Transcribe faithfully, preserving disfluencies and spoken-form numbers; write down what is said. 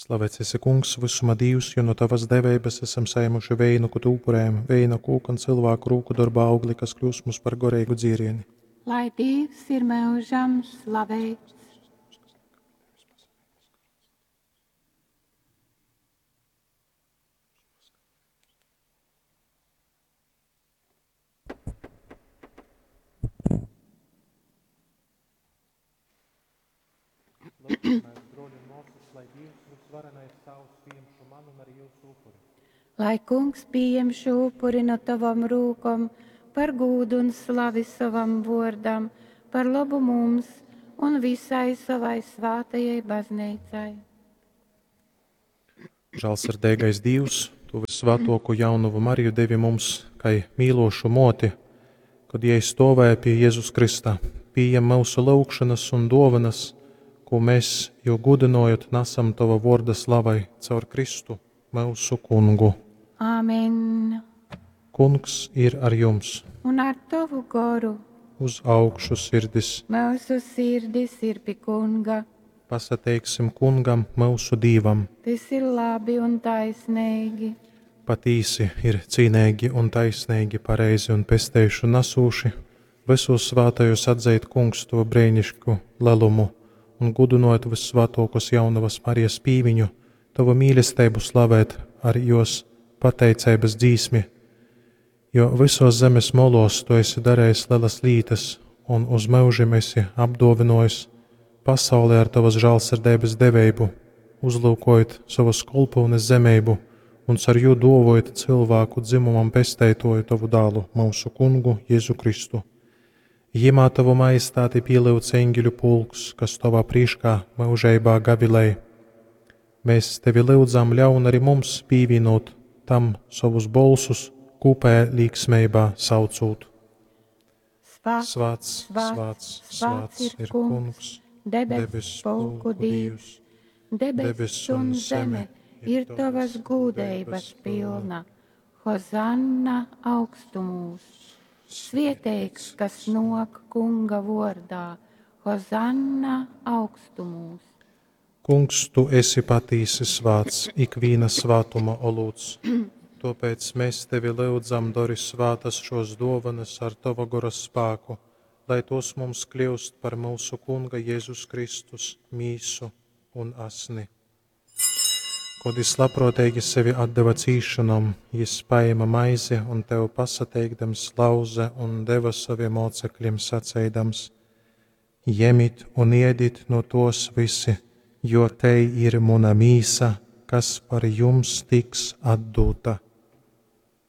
Slavēts esi, Kungs, vysuma Dīvs, jo no tavas deveibas esam sajēmuši veinu, ko tu upurējam, veina kūka un cilvēku rūku dorba augli, kas kļūs mums par goreigu dzierieni. Lai Dievs ir mūžam slavēts. Lūgsimies, broļi un māsas, lai Dievs visvarenais Tēvs pieņem šo manu un arī jūsu upuri. Lai Kungs pieņem šo upuri no tavam rūkom par gūdu un slavi savam vārdam, par labu mums un visai savai svātajai baznīcai. Žālsirdīgais Dievs, tu visvētāko jaunavu Mariju devi mums, kai mīlošu moti, kad jai stovēja pie Jēzus Krista, pieņem mūsu lūgšanas un dovanas, ko mēs, jo gudinojot, nesam tava vorda slavai caur Kristu, mūsu kungu. Āmen. Kungs ir ar jums, Un ar tavu goru uz augšu sirdis. mūsu sirdis ir pie Kunga. Pasateiksim kungam, mūsu Dīvam. Tas ir labi un taisnīgi. Patīsi ir cīnīgi un taisnīgi, pareizi un pesteišu nesūši, visos svātajos atzīt kungs to brēnišku lelumu un gudinot vissvētākos jaunavas Marijas pīmiņu, tavu mīlestību slavēt ar jos pateiceibas dzīsmi, jo visos zemes molos tu esi darījis lielas lītas un uz mūžiem esi apdovinojis pasauli ar tavas žālsirdības devību, uzlūkojot savas kolpūnes zemību un caur jū dovojot cilvēku dzimumam pesteitoju tavu dālu, mūsu kungu Jēzu Kristu. Jimā tavu majestāti pielūdz eņģeļu pulks, kas tavā prīškā mūžībā gavilēj. Mēs tevi lūdzam, ļaun arī mums pievienot tam savus bolsus, kopējā līksmībā saucot. Svāts, Svāts, svāts, svāts ir kungs, debes debes pulku pulku Dievs. Dievs. Debes un zeme ir tavas gūdeibas pilna. Hozanna augstumūs. Svieteigs, kas nok kunga vordā. Hozanna augstumūs. Kungs, tu esi patīsi svāts, ikviena svātuma olūts. Tāpēc mēs tevi lūdzam, dori svātas šos dovanas ar tava gora spēku, lai tos mums kļūst par mūsu Kunga Jēzus Kristus mīsu un asni. Kod jis labprātīgi sevi atdeva cīšanom, jis paēma maizi un tev pasateikdams lauze un deva saviem mocekļiem saceidams: Jemit un iedit no tos visi, jo te ir muna mīsa, kas par jums tiks atdota.